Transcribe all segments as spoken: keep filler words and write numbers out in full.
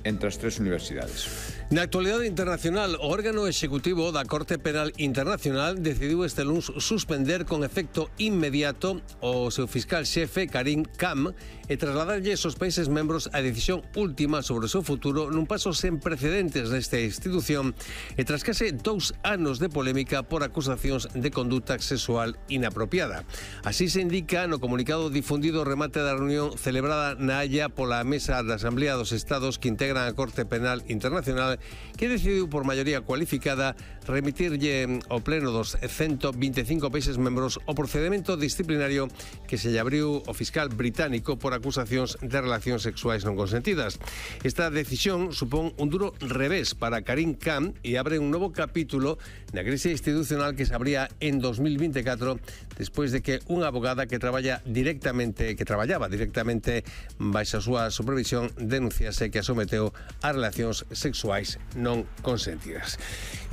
entre as tres universidades. Na actualidade internacional, o órgano executivo da Corte Penal Internacional decidiu este luns suspender con efecto inmediato o seu fiscal xefe Karim Khan e trasladarlle aos países membros a decisión última sobre o seu futuro nun paso sen precedentes nesta institución e tras case dous anos de polémica por acusacións de conduta sexual inapropiada. Así se indica no comunicado difundido ao remate da reunión celebrada na Haya pola Mesa da Asamblea dos Estados que integran a Corte Penal Internacional, que decidiu por maioría cualificada remitirlle ao pleno dos ciento veinticinco países membros o procedimento disciplinario que se lle abriu ao fiscal británico por acusacións de relacións sexuais non consentidas. Esta decisión supón un duro revés para Karim Khan e abre un novo capítulo na crise institucional que se abría en dos mil veinticuatro despois de que unha abogada que traballa directamente que traballaba directamente baixo a súa supervisión denunciase que a someteu a relacións sexuais non consentidas.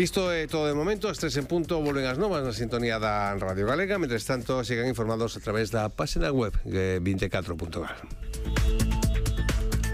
Isto é todo de momento. As tres en punto volven as novas na sintonía da Radio Galega. Mentres tanto, sigan informados a través da página web veinticuatro punto gal.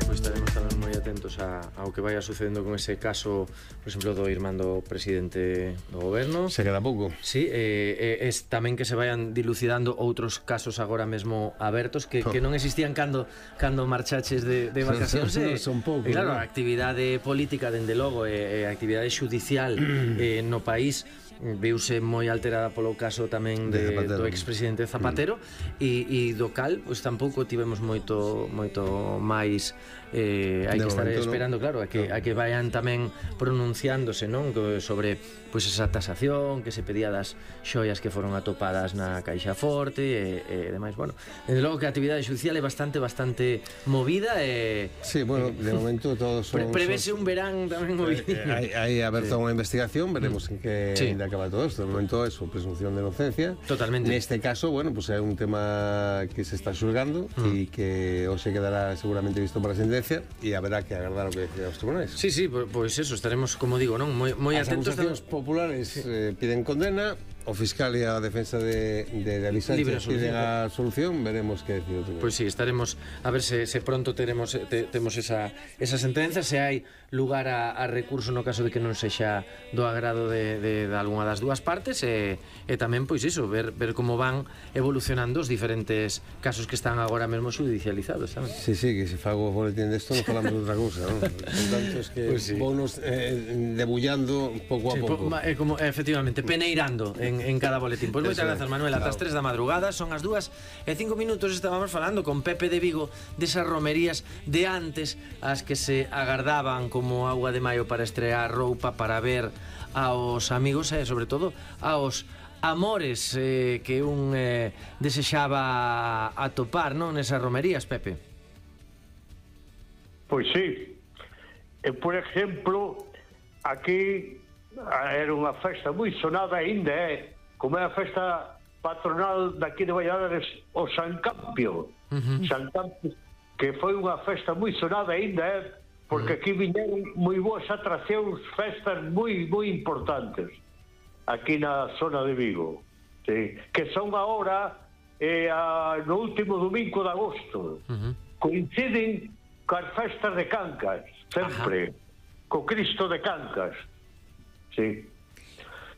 Pois estaremos tamén moi atentos a, ao que vaya sucedendo con ese caso, por exemplo, do irmán do presidente do goberno. Se queda pouco. Sí, eh, eh, es tamén que se vayan dilucidando outros casos agora mesmo abertos que, que non existían cando cando marchaches de, de vacacións. Son, son, son pouco. E claro, ¿no? a actividade política, dende logo, e a actividade xudicial eh, no país viuse moi alterada polo caso tamén de, de do expresidente Zapatero mm. e, e do cal, pois tampouco tivemos moito moito máis eh, hai de que estar momento, esperando, ¿no? Claro, a que, no. a que vayan tamén pronunciándose, non? Sobre pois esa tasación que se pedía das xoias que foron atopadas na Caixa Forte e, e demais, bueno, desde logo que a actividade judicial é bastante, bastante movida e... Sí, bueno, eh, de momento todos son... Pre prevese un verán tamén movido. Eh, hai, hai aberta sí. unha investigación, veremos en que sí. acaba todo esto. De momento é su presunción de inocencia. Totalmente. Neste caso, bueno, pues é un tema que se está xulgando e mm. que hoxe quedará seguramente visto para a sentencia e haberá que agardar o que decida os tribunais. Sí, sí, pois pues eso, estaremos, como digo, non moi, moi as atentos. As acusacións populares sí. eh, piden condena, o fiscal e a defensa de, de, de Ali Sánchez piden a solución, veremos que decide o tribunal. Pois pues sí, estaremos a ver se, se pronto teremos te, temos esa, esa sentenza, se hai lugar a, a recurso no caso de que non sexa do agrado de, de, de algunha das dúas partes e, e tamén, pois iso, ver, ver como van evolucionando os diferentes casos que están agora mesmo judicializados tamén. Sí, sí, que se fago o boletín desto non falamos de outra cousa, non? Con tantos que pues sí. Vounos eh, debullando pouco a sí, pouco. Po, eh, como, efectivamente, peneirando en, en cada boletín. Pois pues moitas grazas, Manuel. Ata as tres da madrugada, son as dúas e cinco minutos. Estábamos falando con Pepe de Vigo desas romerías de antes, as que se agardaban como agua de maio para estrear roupa, para ver aos amigos e, sobre todo, aos amores eh, que un eh, desexaba atopar, non, nesas romerías, Pepe? Pois sí. E, por exemplo, aquí era unha festa moi sonada ainda, eh? Como é a festa patronal daqui de Valladares, o San Campio. Uh-huh. San Campio, que foi unha festa moi sonada ainda, eh? Porque aquí viñeron moi boas atraccións, festas moi, moi importantes aquí na zona de Vigo, sí? Que son agora eh, a, no último domingo de agosto. Uh-huh. Coinciden coas festas de Cancas, sempre. Uh-huh. Co Cristo de Cancas, sí.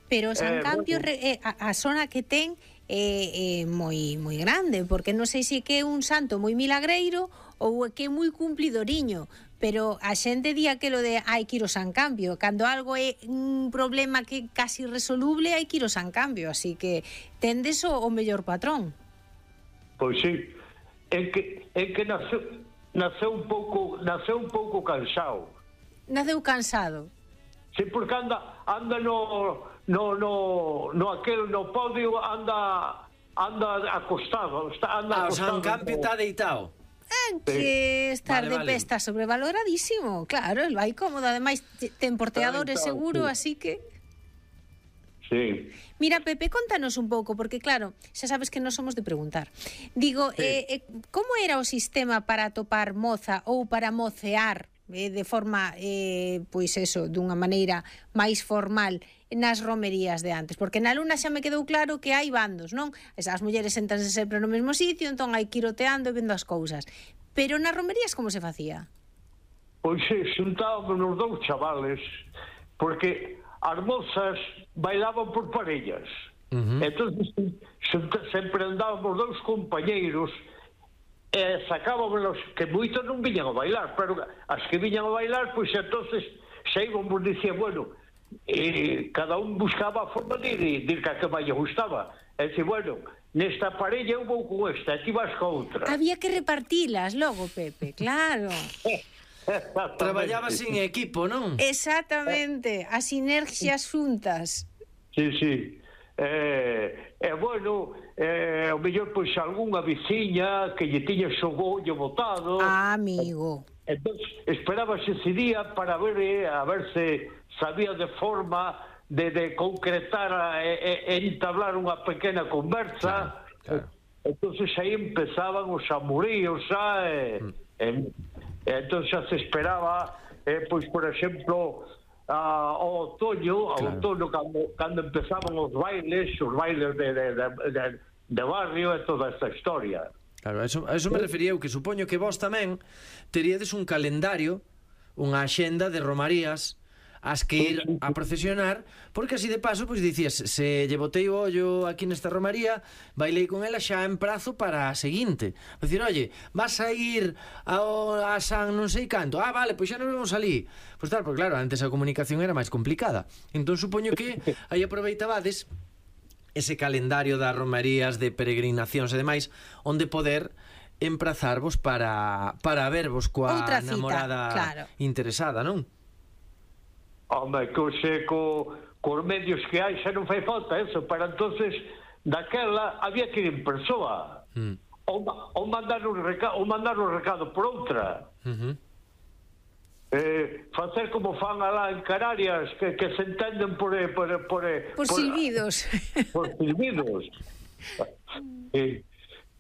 Pero San eh, Campio, bueno, eh, a, a zona que ten é eh, eh, moi moi grande, porque non sei se que é un santo moi milagreiro ou que é moi cumplidoriño, pero a xente di aquilo de hai que ir ao San Campio, cando algo é un problema que casi resoluble hai que ir ao San Campio, así que tendes o, o mellor patrón. Pois sí, en que, en que naceu, naceu un pouco naceu un pouco cansado. Naceu cansado. Sí, porque anda anda no no no no aquel no podio anda anda acostado, está anda ah, acostado. O San Campio está deitado. É que estar vale, de pé vale. Está sobrevaloradísimo, claro, el vai cómodo, ademais ten porteadores seguro, sí. Así que... Sí. Mira, Pepe, contanos un pouco, porque claro, xa sabes que non somos de preguntar. Digo, sí. eh, eh, como era o sistema para atopar moza ou para mocear eh, de forma, eh, pois eso, dunha maneira máis formal nas romerías de antes? Porque na Luna xa me quedou claro que hai bandos, non? Esas mulleres sentanse sempre no mesmo sitio, entón hai que ir oteando e vendo as cousas. Pero nas romerías como se facía? pois xuntábamos nos dous chavales, porque as mozas bailaban por parellas. Uh-huh. Entón, sempre andábamos dous compañeiros e sacábamos, que moitos non viñan a bailar, pero as que viñan a bailar, pois entonces xa íbamos, dicía, bueno, e cada un buscaba a forma de ir, de ir que a que máis lle gustaba. E dice, bueno, nesta parella eu vou con esta, e ti vas con outra. Había que repartilas logo, Pepe, claro. Traballaba sin equipo, non? Exactamente, as sinerxias xuntas. Sí, sí. E, eh, bueno, eh, o mellor, pois, algunha veciña que lle tiña xogollo botado. Ah, amigo. Entón, esperábase ese día para ver, eh, a ver se sabía de forma de, de concretar e, e entablar unha pequena conversa. Claro, claro. Entonces aí empezaban os amoríos, xa, e, mm. e, e entón xa se esperaba, eh, pois, por exemplo, a, ao outoño, ao claro. outoño, cando, cando empezaban os bailes, os bailes de, de, de, de, de barrio e toda esta historia. Claro, a eso, a eso me refería eu, que supoño que vos tamén teríades un calendario, unha axenda de romarías as que ir a procesionar, porque así de paso, pois dicías, se lle botei o ollo aquí nesta romaría, bailei con ela xa en prazo para a seguinte. Dicir, oye, vas a ir ao, a San non sei canto, ah, vale, pois xa nos vemos ali. Pois tal, porque claro, antes a comunicación era máis complicada. Entón supoño que aí aproveitabades ese calendario das romarías, de peregrinacións e demais, onde poder emprazarvos para, para vervos coa outra cita, namorada claro. interesada, non? Home, que xe, co, cos medios que hai xa non fai falta eso, para entonces daquela había que ir en persoa, mm. ou, ou mandar un recado, ou mandar un recado por outra. Uh-huh. Eh, facer como fan alá en Canarias, que, que se entenden por por, por, por, por silbidos por silbidos. Sí.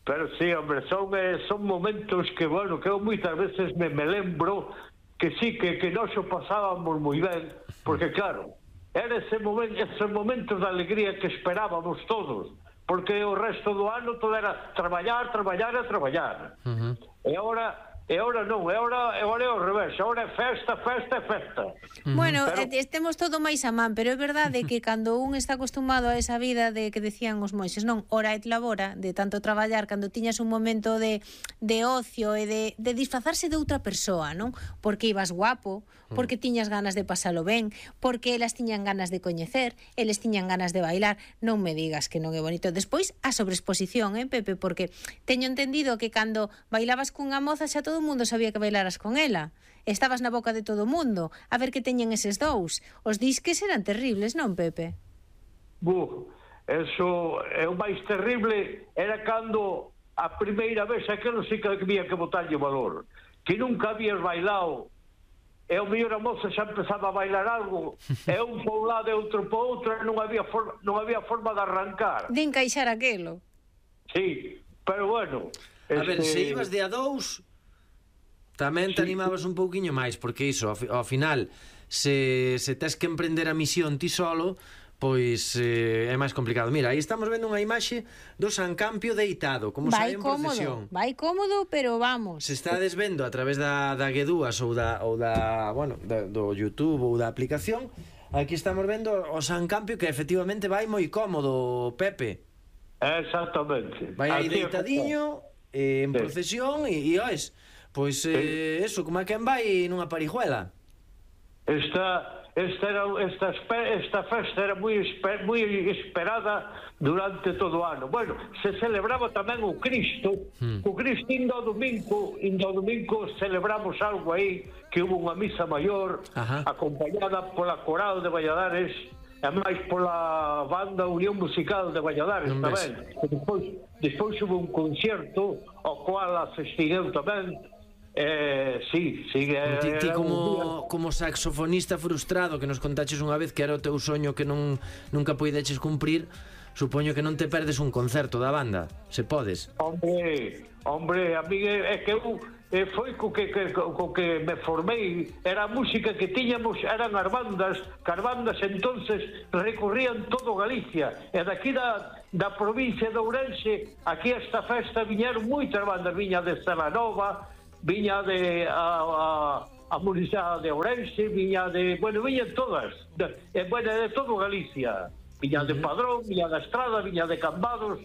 Pero sí, hombre, son, eh, son momentos que, bueno, que eu moitas veces me, me lembro que sí, que, que nós o pasábamos moi ben, porque claro, era ese momento, esos momentos de alegría que esperábamos todos, porque o resto do ano todo era traballar, traballar e traballar. Uh-huh. E agora E agora non, e agora, e agora é ao revés, agora é festa, festa e festa. Bueno, pero... estemos todo máis a man, pero é verdade que cando un está acostumado a esa vida de que decían os moixes, non, ora et labora, de tanto traballar, cando tiñas un momento de, de ocio e de, de disfrazarse de outra persoa, non? Porque ibas guapo, porque tiñas ganas de pasalo ben, porque elas tiñan ganas de coñecer, eles tiñan ganas de bailar, non me digas que non é bonito. Despois, a sobreexposición, eh, Pepe, porque teño entendido que cando bailabas cunha moza xa todo todo o mundo sabía que bailaras con ela. Estabas na boca de todo o mundo a ver que teñen eses dous. Os disques eran terribles, non, Pepe? Bu, eso é o máis terrible, era cando a primeira vez aquilo sí que había que botarlle valor, que nunca habías bailado e o mellor a moza xa empezaba a bailar algo e un por un lado e outro por outro, non había forma, non había forma de arrancar, de encaixar aquelo. Sí, pero bueno, a este... ver, se ibas de a dous tamén te sí, animabas un pouquiño máis, porque iso, ao, ao final, se, se tes que emprender a misión ti solo, pois eh, é máis complicado. Mira, aí estamos vendo unha imaxe do San Campio deitado, como sai en procesión. Vai cómodo, pero vamos. Se estades vendo a través da, da Guedúas ou da, ou da, bueno, da, do YouTube ou da aplicación, aquí estamos vendo o San Campio, que efectivamente vai moi cómodo, Pepe. Exactamente. Vai aí deitadiño, eh, en procesión, e, e oes, pois, eh, eso, como é que vai nunha parijuela. Esta, esta, era, esta, esta festa era moi, esper, moi esperada durante todo o ano. Bueno, se celebraba tamén o Cristo, hmm. o Cristo indo ao domingo, indo ao domingo celebramos algo aí, que hubo unha misa maior, Ajá. acompañada pola Coral de Valladares, e máis pola banda Unión Musical de Valladares non tamén. Despois, despois hubo un concierto, ao cual asistigueu tamén. Eh, sí, sí, eh, ti, ti como, como saxofonista frustrado, que nos contaches unha vez que era o teu soño que non nunca poideches cumprir, supoño que non te perdes un concerto da banda, se podes. Hombre, hombre, a mí é que eu eh, foi co que, que, co que me formei, era a música que tiñamos, eran as bandas, que as bandas entonces recorrían todo Galicia, e daqui da, da provincia de Ourense, aquí a esta festa viñeron moitas bandas, viña de Celanova, viña de a, a, a municipalidade de Ourense, viña de, bueno, viñan todas, de, eh, bueno, de todo Galicia, viña de Padrón, viña da Estrada, viña de Cambados,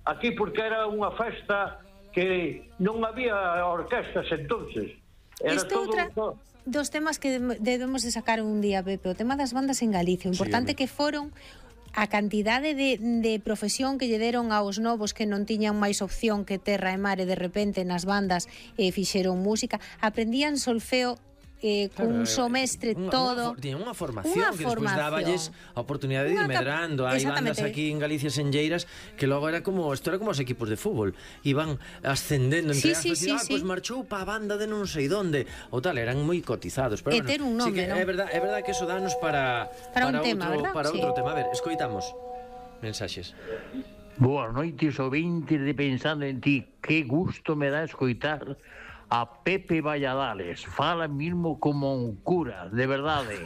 aquí porque era unha festa que non había orquestas entonces. Era Isto todo, outra todo. dos temas que debemos de sacar un día, Pepe, o tema das bandas en Galicia, o importante Sí, que foron a cantidade de, de profesión que lle deron aos novos que non tiñan máis opción que terra e mar e de repente nas bandas eh, fixeron música, aprendían solfeo eh, cun Claro, somestre unha, todo. Unha, unha formación Unha que despois formación. dáballes a oportunidade de ir Unha cap- medrando. Hai bandas Exactamente. aquí en Galicia senlleiras que logo era como, isto era como os equipos de fútbol, iban ascendendo entre Sí, as, sí, sí, sí, ah, sí. pois marchou pa banda de non sei donde, ou tal, eran moi cotizados, pero E bueno, ter un sí nome, que non? é verdade, é verdade que eso danos para Para un tema, outro, verdad? para Sí. outro tema. A ver, escoitamos mensaxes. Boas noites, ouvintes de Pensando en Ti. Que gusto me dá escoitar a Pepe Valladales. Fala mismo como un cura, de verdade.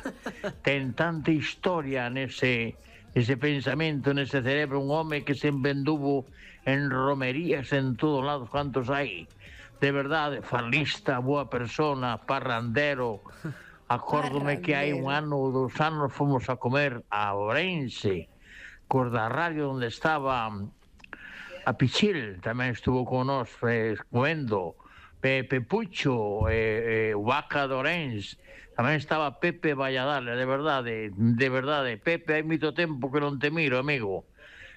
Ten tanta historia nese, ese pensamento, nese cerebro. Un home que sempre anduvo en romerías en todos lados, cantos hai. De verdade, falista, boa persona, parrandero. Acórdome que hai un ano ou dous anos fomos a comer a Ourense, cos da radio onde estaba a Pichil, tamén estuvo con nós eh, comendo, Pepe Pucho, eh, eh, Vaca de Ourense, tamén estaba Pepe Valladales, de verdade, de verdade. Pepe, hai moito tempo que non te miro, amigo.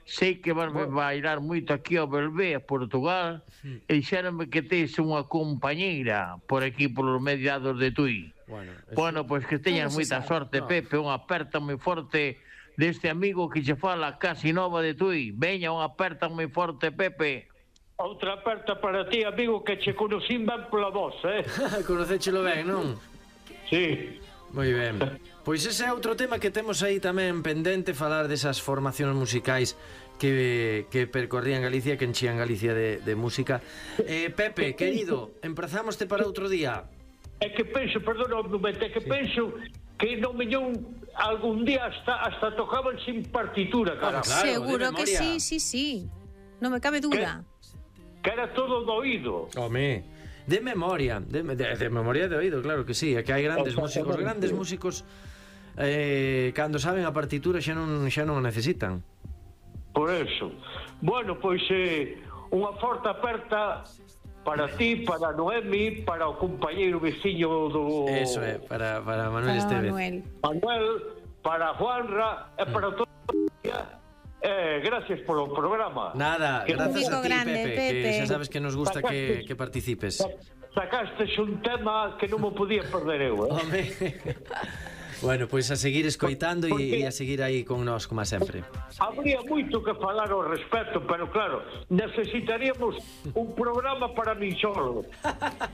Sei que vas a bailar moito aquí ao Belvé, a Portugal, e dixéronme que tes unha compañeira por aquí, polos mediados de Tui. Bueno, eso- Bueno, pois que teñas Non se moita sabe. sorte, No. Pepe, unha aperta moi forte deste amigo que che fala casi nova de Tui. Veña, unha aperta moi forte, Pepe. Outra aperta para ti, amigo, que che conocín ben pola voz, eh? Conocéchelo ben, non? Sí. Moi ben. Pois ese é outro tema que temos aí tamén pendente, falar desas formacións musicais que, que percorrían Galicia, que enchían Galicia de, de música. Eh, Pepe, querido, emprazámoste para outro día. É que penso, perdona un momento, é que penso que non mellón algún día hasta, hasta tocaban sin partitura, cara. Claro, de Seguro que memoria. sí, sí, sí. Non me cabe duda. Que era todo do oído. Home, de memoria, de, de, de memoria de oído, claro que sí, é que hai grandes Exactamente. músicos, grandes músicos eh, cando saben a partitura xa non xa non a necesitan. Por eso. Bueno, pois eh, unha forte aperta para ti, para Noemi, para o compañeiro veciño do Eso é, para, para Manuel Para Estevez. Manuel. Manuel, para Juanra e para todo. Eh, gracias polo programa. Nada, Que gracias a Un ti, grande, Pepe, Pepe. que xa sabes que nos gusta que, que participes. Sacastes un tema que non me podía perder eu, eh? Home. Bueno, pois a seguir escoitando Porque- e, e a seguir aí con nós, como sempre. Habría moito que falar ao respecto, pero claro, necesitaríamos un programa para min solo.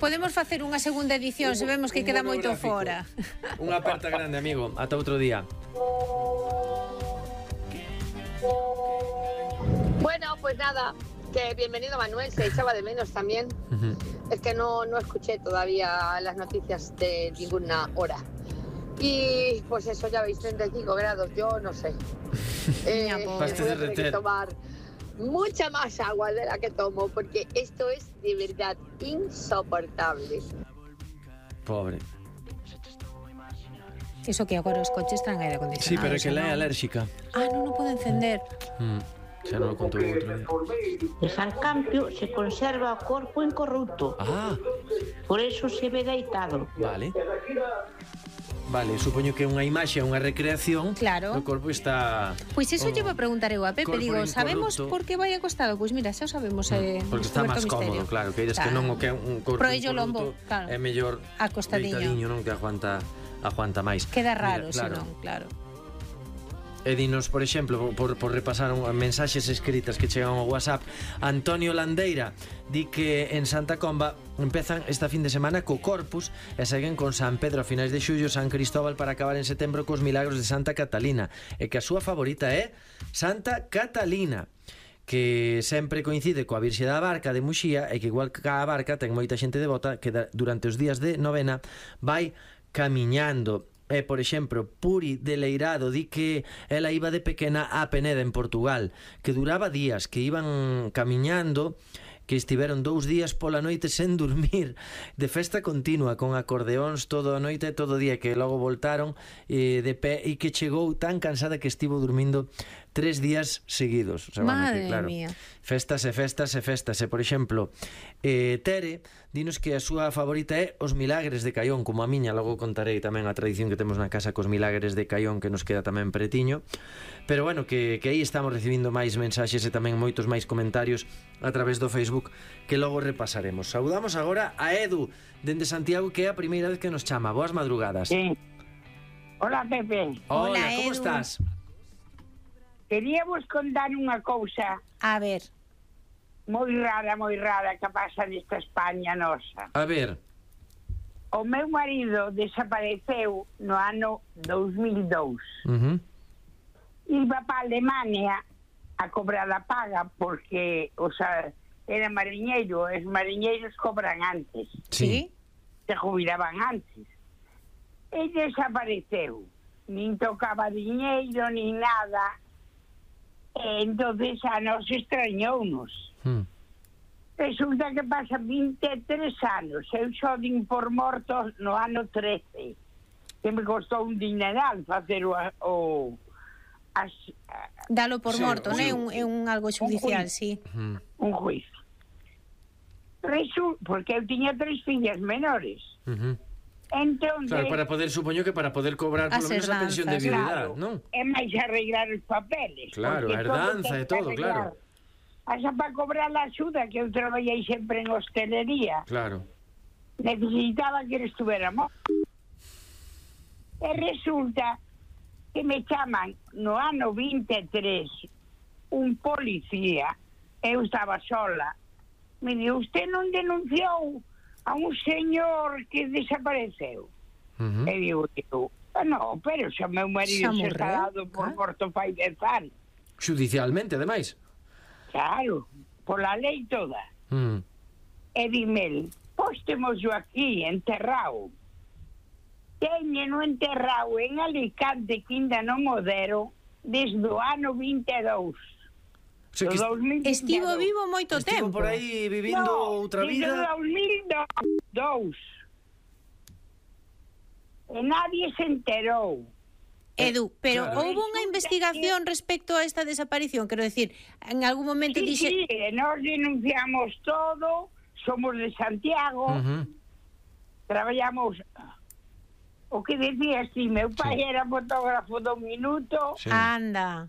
Podemos facer unha segunda edición se vemos que Un queda moito monográfico. fora. Unha aperta grande, amigo. Ata outro día. Bueno, pues nada, que bienvenido Manuel, se echaba de menos también. Es que no, no escuché todavía las noticias de ninguna hora. Y pues eso, ya veis, treinta y cinco grados, yo no sé. Eh, Ya, voy pobre. a Vas a tener derreter. que tomar mucha más agua de la que tomo, porque esto es de verdad insoportable. Pobre. Eso que agora os coches traen aire acondicionado. Sí, pero é que xa ela é non. alérxica. Ah, non o pode encender. Mm, xa non o contou outro día. De San Campio se conserva o corpo incorrupto, Ah, por eso se ve deitado. vale. Vale, supoño que é unha imaxe, unha recreación. Claro. O corpo está... Pois iso o lle vou a preguntar eu a Pepe, corpo digo, sabemos incorrupto. por que vai acostado? Pois mira, xa o sabemos, eh, Porque está máis descoberto o cómodo, misterio. claro, que eres que non o que é un corpo Pro ello incorrupto, lombo, claro. é mellor Acostadiño. deitadiño, non, que aguanta aguanta máis. Queda raro, Mira, senón, claro. E dinos, por exemplo, por, por repasar un, mensaxes escritas que chegan ao WhatsApp, Antonio Landeira di que en Santa Comba empezan esta fin de semana co Corpus e seguen con San Pedro a finais de xullo, San Cristóbal para acabar en setembro cos milagros de Santa Catalina, e que a súa favorita é Santa Catalina, que sempre coincide coa Virxe da Barca de Muxía e que igual que a Barca ten moita xente devota que da, durante os días de novena vai camiñando. E, por exemplo, Puri de Leirado di que ela iba de pequena a Peneda en Portugal, que duraba días, que iban camiñando que estiveron dous días pola noite sen dormir, de festa continua, con acordeóns toda a noite e todo o día, que logo voltaron eh, de pé, e que chegou tan cansada que estivo dormindo tres días seguidos. O sea, Madre bueno, que, claro, mía. festas e festas e festas. E, por exemplo, eh, Tere dinos que a súa favorita é os milagres de Caión, como a miña. Logo contarei tamén a tradición que temos na casa cos milagres de Caión, que nos queda tamén pretiño. Pero bueno, que, que aí estamos recibindo máis mensaxes e tamén moitos máis comentarios a través do Facebook, que logo repasaremos. Saudamos agora a Edu dende Santiago, que é a primeira vez que nos chama. Boas madrugadas. Sí. Hola, Pepe. Hola, Hola, como Edu. estás? Queríamos contar unha cousa A ver. moi rara, moi rara que pasa nesta España nosa. A ver. O meu marido desapareceu no ano dos mil e dous. Uh-huh. Iba para Alemania a cobrar a paga porque, o sea, era mariñeiro, os mariñeiros cobran antes, Sí. se jubilaban antes. E desapareceu, nin tocaba diñeiro, nin nada. E entonces a nos extrañounos. Hmm. Resulta que pasa vinte e tres anos. Eu só din por mortos no ano trece, que me costou un dineral facer o... o as, Dalo por Sí, morto, sí. non é un, é un algo judicial, sí. Uh-huh. un juicio. Resu, porque eu tiña tres fillas menores. Uh-huh. Entón, Claro, para poder, supoño que para poder cobrar As polo menos a pensión de herdanzas. viudidade, non? é máis arreglar os papeles. Claro, porque a herdanza ten e que todo, arreglar. claro. Asa para cobrar a axuda, que eu traballei sempre en hostelería, Claro. necesitaba que ele estuviéramos. E resulta que me chaman no ano vinte e tres un policía, eu estaba sola, me di, usted non denunciou a un señor que desapareceu? Uh-huh. E digo, eu, ah, no, pero xa meu marido Xa se está morreu, dado por claro. morto fai dez anos. Judicialmente, ademais. Claro, pola lei toda. Mm. E dime, pois temos yo aquí enterrado. Teñeno enterrado en Alicante, que ainda non o deron, desde o ano vinte e dous. O sea, que Do dos mil vinte e Estivo dous. vivo moito estivo tempo. por aí vivindo No, outra desde o vida. dos mil dous. E nadie se enterou. Edu, pero Claro. houve unha investigación respecto a esta desaparición, quero decir, en algún momento Sí, dixe... sí, e nos denunciamos todo, somos de Santiago, Uh-huh. traballamos... O que decías, si meu pai Sí. era fotógrafo do Minuto, Sí. Anda.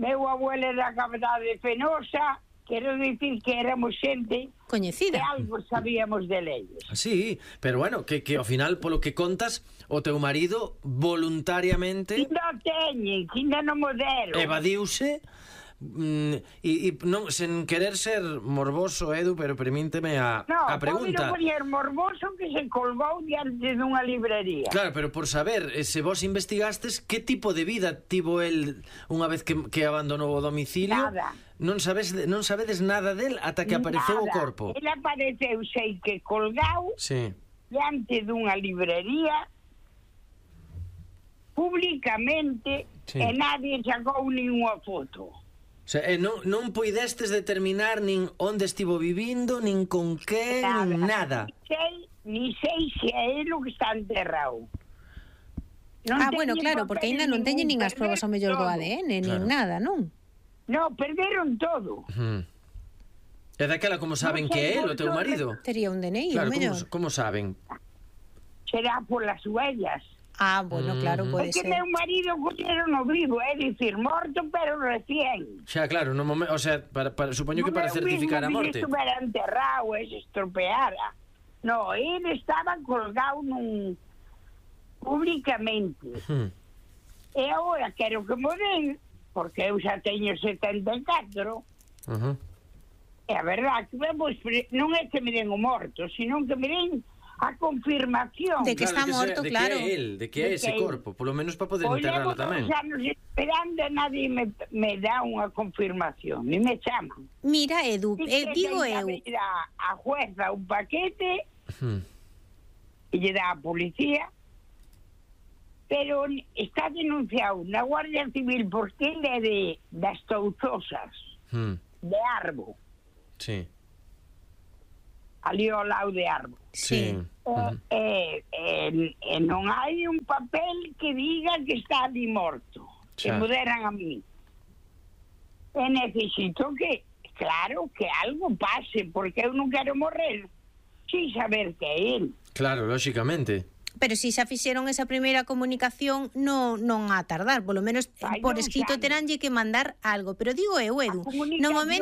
meu abuelo era cavidade fenosa, quero dicir que éramos xente que Coñecida. algo sabíamos de leyes. Sí, pero bueno, que, que ao final, polo que contas, o teu marido voluntariamente Ainda teñen, que ainda non mo deron. evadiuse mm, e, e non, sen querer ser morboso, Edu, pero permíteme a, No, a pregunta. pode poñer morboso que se colgou diante dunha librería. Claro, pero por saber, eh, se vos investigastes, que tipo de vida tivo el unha vez que, que abandonou o domicilio? Nada. Non sabes, non sabedes nada del ata que apareceu o Nada. corpo. Ele apareceu, sei que colgau Sí. diante dunha librería públicamente, Sí. e nadie sacou ninguna foto. O sea, eh, non, non poidestes determinar nin onde estivo vivindo, nin con que, nin nada. Ni sei, ni sei se é ele o que está enterrado. Non Ah, bueno, teñen claro, porque papeles aínda non teñen nin ningún, as probas ao mellor do todo. A D N, nin Claro. nada, non? No, perderon todo. Hmm. E daquela como saben Non que é sei el, o teu por marido? Tería un D N I, Claro, o como, mellor. como saben? Será por las huellas. Ah, bueno, claro, Mhm. pode Porque ser. meu marido colleron no vivo, é dicir, morto pero recién. Xa, claro, no momento, o sea, para, para, supoño que para Non é o certificar a mismo morte. que estuvera enterrado e se estropeara. No, ele estaba colgado nun... públicamente. Hmm. E agora quero que mo den, porque eu xa teño setenta e catro, Uh-huh. e a verdad que vamos, non é que me den o morto, sino que me den a confirmación. De que está de morto, se, de claro. que é el, de que é De ese que é. corpo, polo menos para poder Pois enterralo levo dous tamén. anos esperando e nadie me, me dá unha confirmación, ni me chaman. Mira, Edu, E eh, que digo ten que eu, abrir a, a jueza un paquete Hmm. e lle dá a policía, pero está denunciado na Guardia Civil porque ele é de, das Touzosas, Hmm. de Arbo. Sí. ali ao lado de árbol. Sí. E, e, e, e non hai un papel que diga que está ali morto, que Xa. me deran a mí. E necesito que, claro, que algo pase, porque eu non quero morrer sin saber que é el. Claro, lógicamente. Pero si xa fixeron esa primeira comunicación, non non a tardar, polo menos Ai, por non escrito sabe. teránlle que mandar algo, pero digo eu, Edu, A comunicación no momento